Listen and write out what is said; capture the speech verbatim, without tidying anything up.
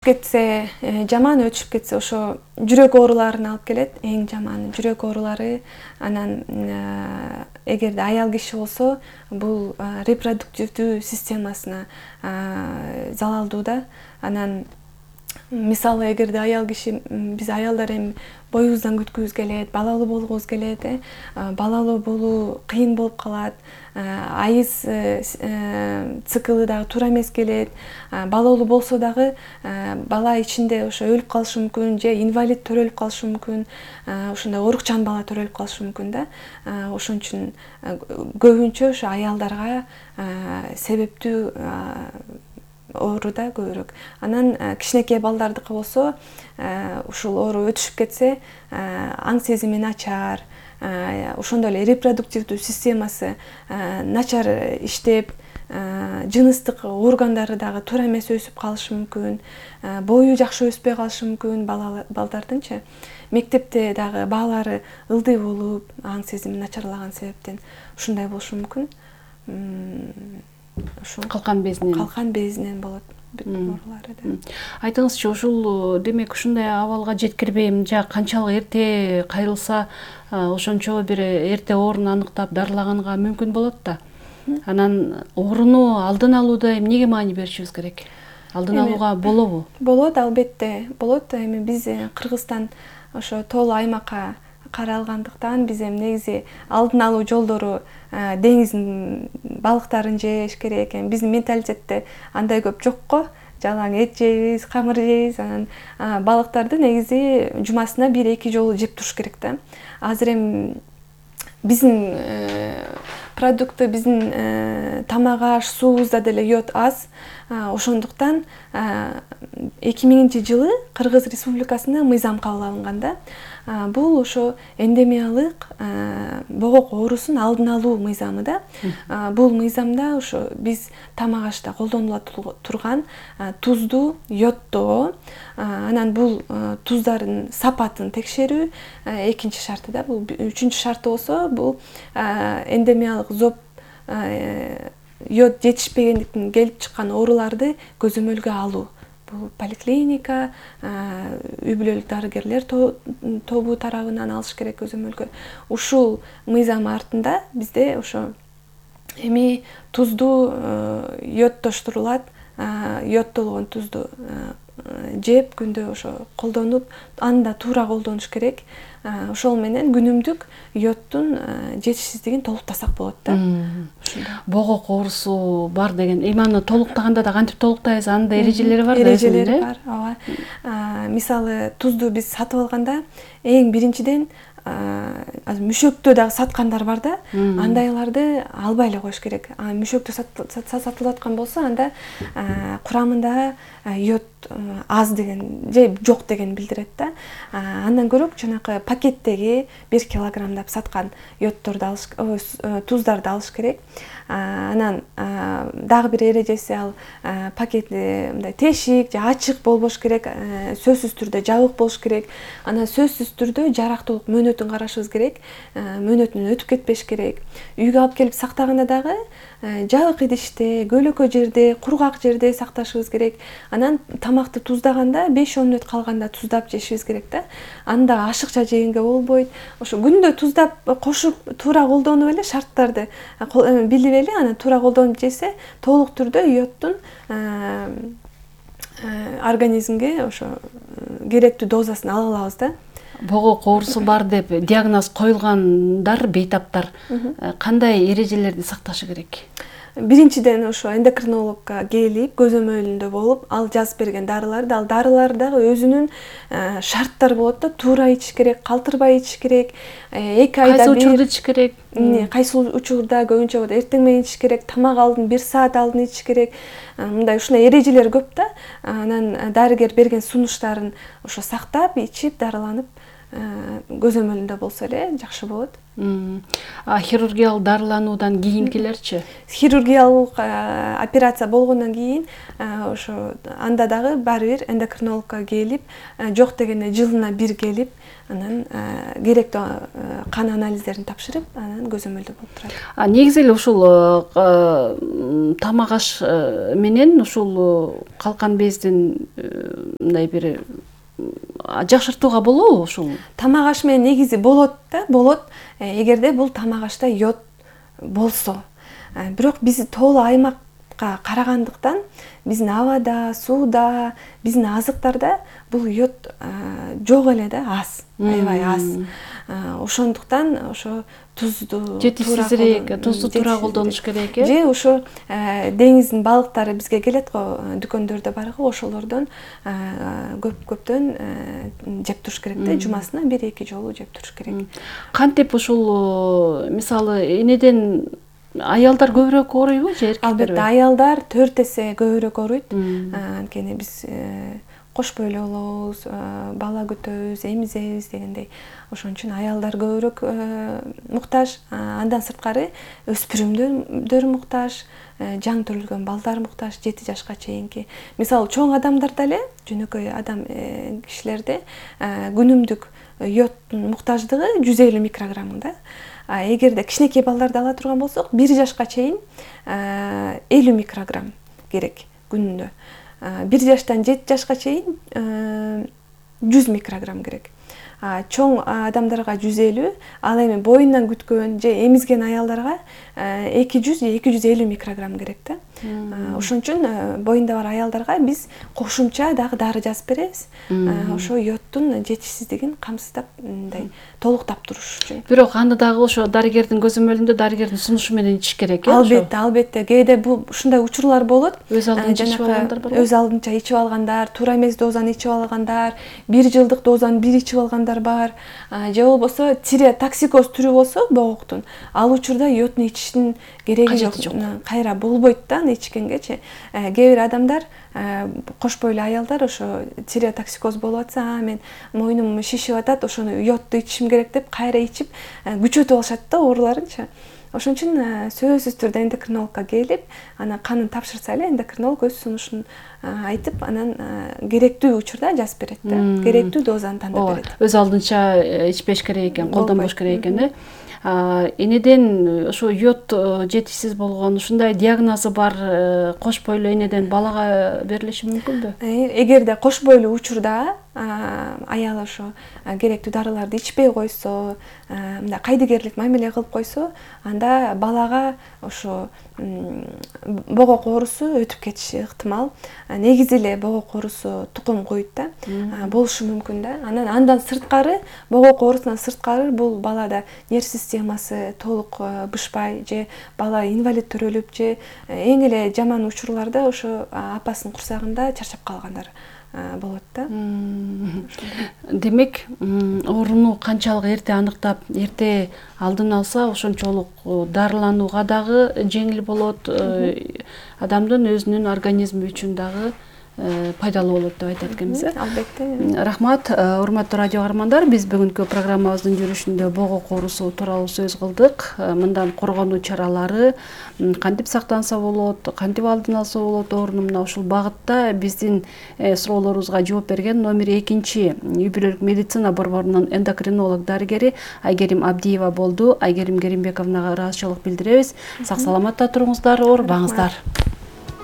кетсе, жаман өтүшүп кетсе ошо жүрөк ооруларын алып келет. Эң жаманы жүрөк оорулары. Анан эгерде аял киши болсо, бул репродуктивдүү системасына залалдуу да. Анан мисалы эгерде аял киши, биз аялдар эми боюбуздан күткүбүз келет, балалуу болгубуз келет, э балалуу болуу кыйын болуп калат. Айыз циклы дагы туура эмес келет. Балалуу болсо дагы бала ичинде ошо өлүп калышы мүмкүн, же инвалид төрөлүп калышы мүмкүн. Ошондой оорукчан бала төрөлүп калышы мүмкүн да. Ошон үчүн көбүнчө ошо аялдарга себептүү оору да көбүрөөк. Анан кичинекей балдардыкы болсо, ушул оору өтүшүп кетсе, аң сезими начар, ошондой эле репродуктивдүү системасы начар иштеп, жыныстык органдары дагы туура эмес өсүп калышы мүмкүн, бою жакшы өспөй калышы мүмкүн балдардынчы. Мектепте дагы баалары ылдый болуп, аң сезими начарлаган себептен ушундай болушу мүмкүн. Калкан безинен. Калкан безинен болот бүт оорулары да. Айтыңызчы, ушул демек ушундай абалга жеткирбейм, жа канчалык эрте кайрылса, ошончо бир эрте оорун аныктап дарылаганга мүмкүн болот да. Анан ооруну алдын алууда эмнеге маани беришибиз керек? Алдын алууга болобу? Болот, албетте, болот. Эми биз Кыргызстан ошо тоолуу аймакка каралгандыктан биз эми негизи алдын алуу жолдору деңиздин балыктарын жеш керек. Эми биздин менталитетте андай көп жок го. Жалаң эт жейбиз, камыр жейбиз. Анан балыктарды негизи жумасына бир эки жолу жеп туруш керек да. Азыр эми биздин продукты, биздин тамак аш, суубузда деле йод аз. Ошондуктан эки миңинчи жылы Кыргыз Республикасында мыйзам кабыл алынган да. Бул ошо эндемиялык богок оорусун алдын алуу мыйзамы да. Бул мыйзамда ошо биз тамак ашта колдонула турган тузду йоддоо, анан бул туздардын сапатын текшерүү экинчи шарты да. Бул үчүнчү шарты болсо, бул эндемиялык зоб йод жетишпегендиктен келип чыккан ооруларды көзөмөлгө алуу. Бул поликлиника, үй бүлөлүк дарыгерлер тобу тарабынан алыш керек көзөмөлгө. Ушул мыйзам артында бизде ошо эми тузду йоддоштурулат, йоддолгон тузду жеп күндө ошо колдонуп, аны да туура колдонуш керек. Ошол менен күнүмдүк йоддун жетишсиздигин толуктасак болот да. Богок оорусу бар деген. Эми аны толуктаганда да кантип толуктайбыз? Анын да эрежелери бар да. Эрежелери бар, ооба. Мисалы тузду биз сатып алганда эң биринчиден мүшөктө дагы саткандар бар да. Андайларды албай эле коюш керек. Мүшөктө сатылып аткан болсо, анда курамында йод аз деген же жок деген билдирет да. Андан көрө жанакы пакеттеги бир килограммдап саткан йоддорду алыш, туздарды алыш керек. Анан дагы бир эрежеси, ал пакети мындай тешик же ачык болбош керек, сөзсүз түрдө жабык болуш керек. Анан сөзсүз түрдө жарактуулук мөөнөтүн карашыбыз керек. Мөөнөтүнөн өтүп кетпеш керек. Үйгө алып келип сактаганда дагы жабык идиште, көлөкө жерде, кургак жерде сакташыбыз керек. Анан тамакты туздаганда беш он мүнөт калганда туздап жешибиз керек да. Анда ашыкча жегенге болбойт. Ошо күндө туздап кошуп, туура колдонуп эле шарттарды билип эле, анан туура колдонуп жесе, толук түрдө йоддун организмге ошо керектүү дозасын ала алабыз да. Богок оорусу бар деп диагноз коюлгандар, бейтаптар кандай эрежелерди сакташы керек? Биринчиден ошо эндокринологко келип, көзөмөлүндө болуп, ал жазып берген дарыларды, ал дарылар дагы өзүнүн шарттары болот да. Туура ичиш керек, калтырбай ичиш керек. эки айда кайсы учурда ичиш керек? Кайсы учурда көбүнчө эртең менен ичиш керек, тамак алдын бир саат алдын ичиш керек. Мындай ушундай эрежелер көп да. Анан дарыгер берген сунуштарын ошо сактап, ичип, дарыланып көзөмөлүндө болсо эле жакшы болот. А хирургиялык дарылануудан кийинкилерчи? Хирургиялык операция болгондон кийин ошо анда дагы баары бир эндокринологко келип, жок дегенде жылына бир келип, анан керектүү кан анализдерин тапшырып, анан көзөмөлдө болуп турат. А негизи эле ушул тамак аш менен ушул калкан бездин мындай бир жакшыртууга болобу ушул? Тамак аш менен негизи болот да, болот. Эгерде бул тамак ашта йод болсо. Бирок биз тоолуу аймакка карагандыктан биздин абада, сууда, биздин азыктарда бул йод жок эле да, аз, аябай аз. Ошондуктан ошо тузду, жетишсизирээк, тузду туура колдонуш керек э? Же ошо деңиздин балыктары бизге келет го, дүкөндөрдө бар го, ошолордон көп көптөн жеп туруш керек да, жумасына бир эки жолу жеп туруш керек. Кантип ушул мисалы энеден аялдар көбүрөөк ооруйбу же эркектерби? Албетте, аялдар төрт эсе көбүрөөк ооруйт. Анткени биз кош бойлуу болобуз, бала күтөбүз, эмизебиз дегендей. Ошон үчүн аялдар көбүрөөк муктаж, андан сырткары өспүрүмдөр муктаж, жаңы төрөлгөн балдар муктаж, жети жашка чейинки. Мисалы чоң адамдарда эле, жөнөкөй адам кишилерде күнүмдүк йоддун муктаждыгы жүз элүү микрограмм да. Эгерде кичинекей балдарды ала турган болсок, бир жашка чейин элүү микрограмм керек күнүндө. бир жаштан жети жашка чейин жүз микрограмм керек. Чоң адамдарга жүз элүү, ал эми боюнан күткөн же эмизген аялдарга эки жүз же эки жүз элүү микрограмм керек да. Ошон үчүн боюнда бар аялдарга биз кошумча дагы дары жазып беребиз. Ошо йоддун жетишсиздигин камсыздап, мындай толуктап туруш үчүн. Бирок аны дагы ошо дарыгердин көзөмөлүндө, дарыгердин сунушу менен ичиш керек э? Албетте, албетте. Кээде бул ушундай учурлар болот. Өз алдынча ичип алгандар барбы? Өз алдынча ичип алгандар, туура эмес дозаны ичип алгандар, бир жылдык дозаны бир ичип алгандар бар. Же болбосо тиреотоксикоз түрү болсо богоктун, ал учурда йодну ичиштин кереги жок. Кайра болбойт да аны ичкенгечи. Кээ бир адамдар, кош бойлуу аялдар ошо тиреотоксикоз болуп атса, мен мойнум шишип атат, ошону йодду ичишим керек деп кайра ичип күчөтүп алышат да ооруларынчы. Ошон үчүн сөзсүз түрдө эндокринологко келип, анан канын тапшырса эле эндокринолог өз сунушун айтып, анан керектүү учурда жазып берет да. Керектүү дозаны тандап берет. Өз алдынча ичпеш керек экен, колдонбош керек экен э? Энеден ошо йод жетишсиз болгон ушундай диагнозу бар кош бойлуу энеден балага берилиши мүмкүнбү? Эгерде кош бойлуу учурда аял ошо керектүү дарыларды ичпей койсо, мындай кайдыгерлик мамиле кылып койсо, анда балага ошо богок оорусу өтүп кетиши ыктымал. Негизи эле богок оорусу тукум куйт да, болушу мүмкүн да. Анан андан сырткары, богок оорусунан сырткары бул балада нерв системасы толук бышпай же бала инвалид төрөлүп же эң эле жаман учурларда ошо апасынын курсагында чарчап калгандар болот да. Демек, ооруну канчалык эрте аныктап, эрте алдын алса, ошончолук дарыланууга дагы жеңил болот, адамдын өзүнүн организми үчүн дагы пайдалуу болот деп айтат экенбиз э? Албетте. Рахмат, урматтуу радио каармандар, биз бүгүнкү программабыздын жүрүшүндө богок оорусу тууралуу сөз кылдык. Мындан коргонуу чаралары кантип сактанса болот, кантип алдын алса болот ооруну, мына ушул багытта биздин суроолорубузга жооп берген номер экинчи үй бүлөлүк медицина борборунун эндокринолог дарыгери Айгерим Абдиева болду. Айгерим Керимбековнага ыраазычылык билдиребиз. Сак саламатта туруңуздар, оорубаңыздар.